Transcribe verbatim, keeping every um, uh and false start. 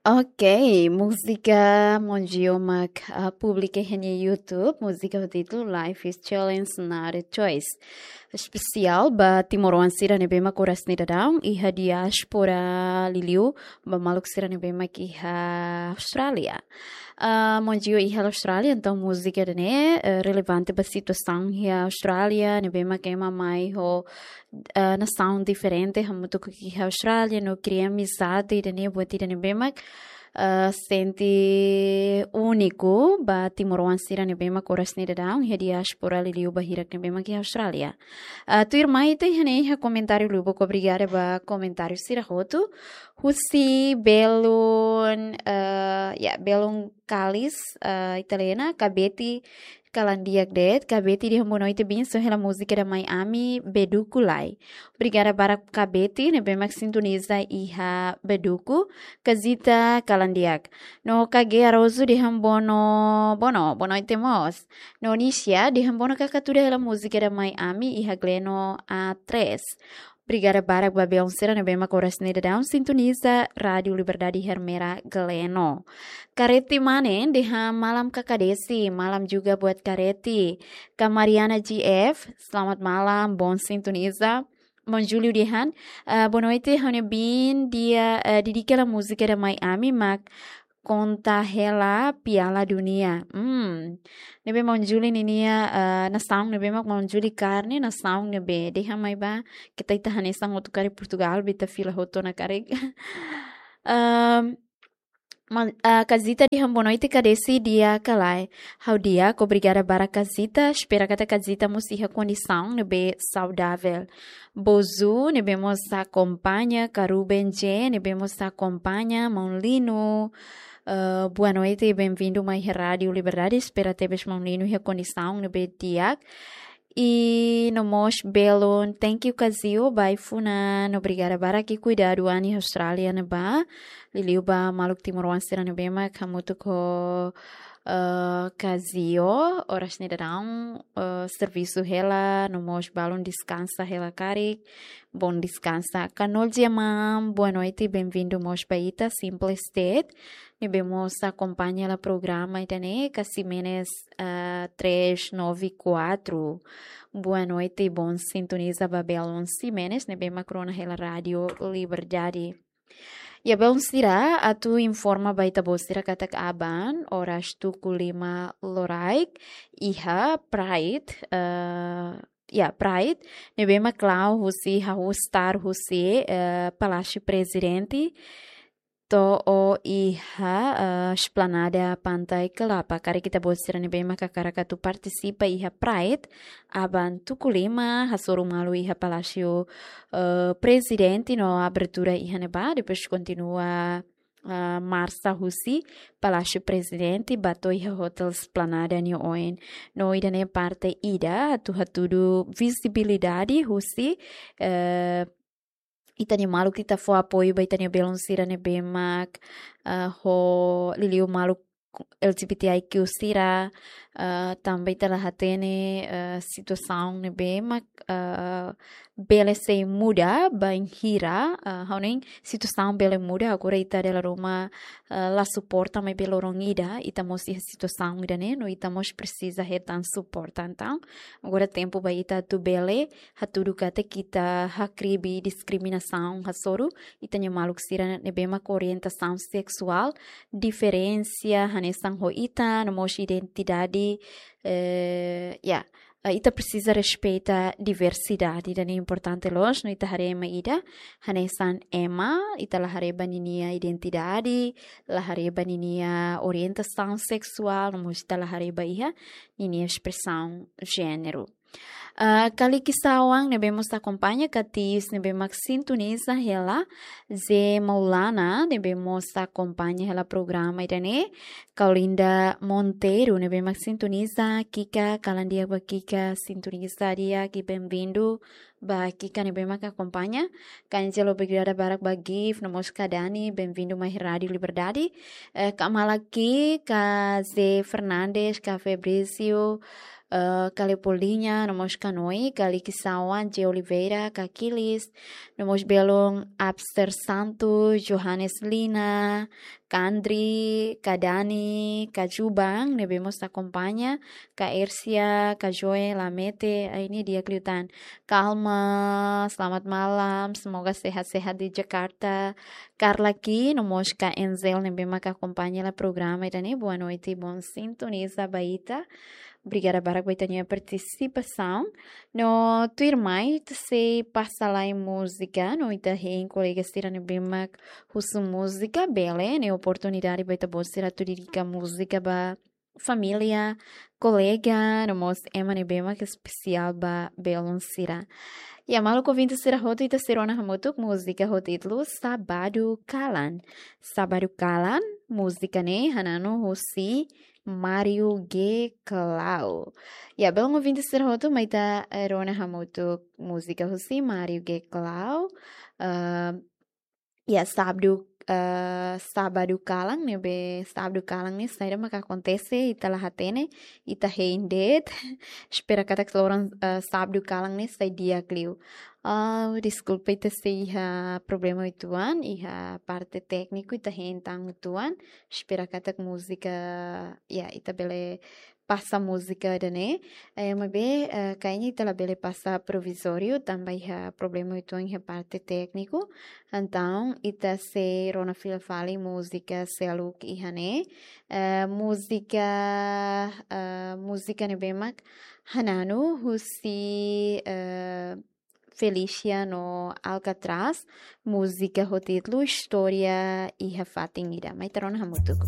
Ok, múzika Monjio mak, ah, publika iha nia YouTube, múzika ho títulu Life is Challenge, Not a Choice. Espesiál ba timoroan sira ne'ebé mak oras ne'e daudaun iha diáspora, liuliu ba maluk sira ne'ebé mak iha Austrália. Ah, Monjio iha Austrália, entaun múzika ida-ne'e, eh, relevante ba situasaun iha Austrália, ne'ebé mak ema mai ho, eh, nasaun diferente, hamutuk iha Austrália, no kria amizade ida-ne'e buat ida ne'ebé mak, eh, sente úniku ba timoroan sira ne'ebé mak oras ne'e daudaun iha diáspora, liuliu ba hirak ne'ebé mak iha Austrália. Ah, tuirmai ita iha ne'e iha komentáriu lubuk, obrigada ba komentáriu sira hotu. Husi belun, eh, ya, belun Kalis, eh, Italiana, Kabeti kalan di'ak de'it, Kabeti dehan boa noite, bensaun hela múzika ida mai ami, Beduku Lai. Obrigada barak Kabeti, ne'ebé mak sintoniza iha Beduku, Kazita kalan di'ak. No Kage Arozu dehan bono, bono, boa noite mós. No Nisia dehan bono kaka tuda hela múzika ida mai ami iha Gleno A três. Obrigada barak ba belun sira ne'ebé mak oras ne'e daudaun sintoniza Rádiu Liberdade Ermera Gleno. Kareti Mane dehan malam Kaka Desi, malam juga buat Kareti. Ka Mariana G F, selamat malam, bom sintoniza. Mon Julio dehan, eh, boa noite, ha'u-nia biin, dia, eh, dedika hela múzika ida mai ami mak konta hela Piala Dunia. Hmm. Ne'ebé Mon Julio ninia, eh, nasaun ne'ebé mak Mon Julio kaer ne'e, nasaun ne'ebé dehan mai ba, keta ita hanesan hotu karik Portugal, ba ita fila hotu ona karik. Em, man-, ah, Kazita dehan boa noite, Kaka Desi, di'ak ka lae? Ha'u di'ak, obrigada barak Kazita, espera katak Kazita mós iha kondisaun ne'ebé saudável. Bozu, ne'ebé mós akompaña, Karuben J, ne'ebé mós akompaña, Maun Lino, eh, boa noite, bem-vindo mai iha Rádiu Liberdade, espera tebes Maun Lino iha kondisaun ne'ebé di'ak. I no mós belun, thank you Kazio, ba ai-funan, obrigada barak, i kuidadu an iha Austrália ne'ebá, liuliu ba maluk timoroan sira ne'ebé mak hamutuk ho, eh, Kazio, oras ne'e daudaun, eh, servisu hela, no mós balun deskansa hela karik, bom descansar. Kanol Diamam, boa noite, bem-vindo mós ba ita, simples de'it, ne'ebé mós akompaña hela programa ida-ne'e, ka Ximenes, ah, três nove quatro. Boa noite, bom sintoniza ba belun Ximenes, ne'ebé mak rona hela Rádiu Liberdade. Ya, belun sira, atu informa ba ita-boot sira katak aban, oras tuku lima loraik, iha Pride, eh, ya, Pride, ne'ebé mak la'o husi, hahú start husi, eh, Palásiu Prezidente, to'o iha, eh, Esplanada Pantai Kelapa. Karik ita-boot sira ne'ebé mak hakarak atu partisipa iha Pride, aban tuku lima, hasoru malu iha Palásiu, eh, Prezidente no abertura iha ne'ebá, depois kontinua, eh, marsa husi Palásiu Prezidente, ba to'o iha Hotel Esplanada nia oin. No ida-ne'e parte ida, atu hatudu vizibilidade husi, eh, ita-nia maluk, ita fó apoiu ba ita-nia belun sira ne'ebé mak, eh, ho liuliu maluk L G B T I Q sira, eh, tanba ita la hatene, eh, situasaun ne'ebé mak, eh, bele sei muda bainhira, eh, ha'u hanoin situasaun bele muda, agora ita dala ruma, eh, la suporta maibé loron ida, ita mós iha situasaun ida-ne'e, no ita mós presiza hetan suporta. Entaun, agora tempu ba ita atu bele hatudu katak ita hakribi diskriminasaun hasoru ita-nia maluk sira ne'ebé mak orientasaun seksuál diferente hanesan ho ita, no mós identidade, eh, ya, eh, ita presiza respeita diversidade, ida-ne'e importante loos, no ita haree ema ida hanesan ema, ita la haree ba ninia identidade, la haree ba ninia orientasaun seksuál, no mós ita la haree ba iha ninia espresaun jéneru. Ah, Kaliki Sawan, ne'ebé mós akompaña, Katis, ne'ebé mak sintoniza hela, Ze Maulana, ne'ebé mós akompaña hela programa ida-ne'e, Kaulinda Monteiro, ne'ebé mak sintoniza, Kika, kalan di'ak ba Kika, sintoniza di'ak, i bem-vindo, Ba Kika ne'ebé maka akompaña, ka Angelo, obrigada barak ba Gif, no mós ka Dani, bem-vindo mai Rádio Liberdade. Eh, ka Malaki, ka Zé Fernandes, ka Fabrício, eh, ka Leopoldinha, no mós ka Noi, ka Liki Sawan, G Oliveira, ka Kilis, no mós belun Abster Santos, Johannes Lina, ka Andri, ka Dani, ka Jubang, ne'ebé mós akompaña, ka Ersia, ka Joel, Lamete, ai ne'e di'ak liután. Calma, selamat malam, semoga sehat-sehat di Jakarta. Carla Ki, no mós ka Enzel, ne'ebé maka akompaña hela programa ida-ne'e, boa noite, bom sintoniza ba ita. Obrigada barak ba ita-nia partisipasaun. No tuirmai, ita sei pasa lai múzika, no ita hein kolega sira ne'ebé mak husu múzika, bele, ne'e oportunidade ba ita-boot sira atu dedika múzika ba família, kolega, no mós ema ne'ebé mak espesiál ba belun sira. Ya, maluk ouvinte sira hotu, ita sei rona hamutuk múzika ho títulu Sábado Kalan. Sábado Kalan, múzika ne'e hananu husi Mário G Clau. Ya, belun ouvinte sira hotu, mai ita, eh, rona hamutuk múzika husi Mário G Clau. Ah, ya, sábadu, eh, sábadu kalan ne'ebé, sábadu kalan ne'e saida maka akontese, ita la hatene, ita hein de'it. Espera katak loron, eh, sábadu kalan ne'e sai di'ak liu. Ah, deskulpa, ita sei iha problema uitoan, iha parte tékniku, ita hein tan uitoan. Espera katak múzika, ya, ita bele pasa múzika ida-ne'e. Eh, maibé, eh, kayaknya ita labele pasa provizóriu, tanba iha problema uitoan iha parte tékniku. Entaun, ita sei rona fila fali múzika seluk iha ne'e. Eh, múzika, eh, múzika ne'ebé mak hananu husi, eh, Felícia no Alcatraz, múzika ho títulu Istória iha Fatin Ida. Mai ita rona hamutuk.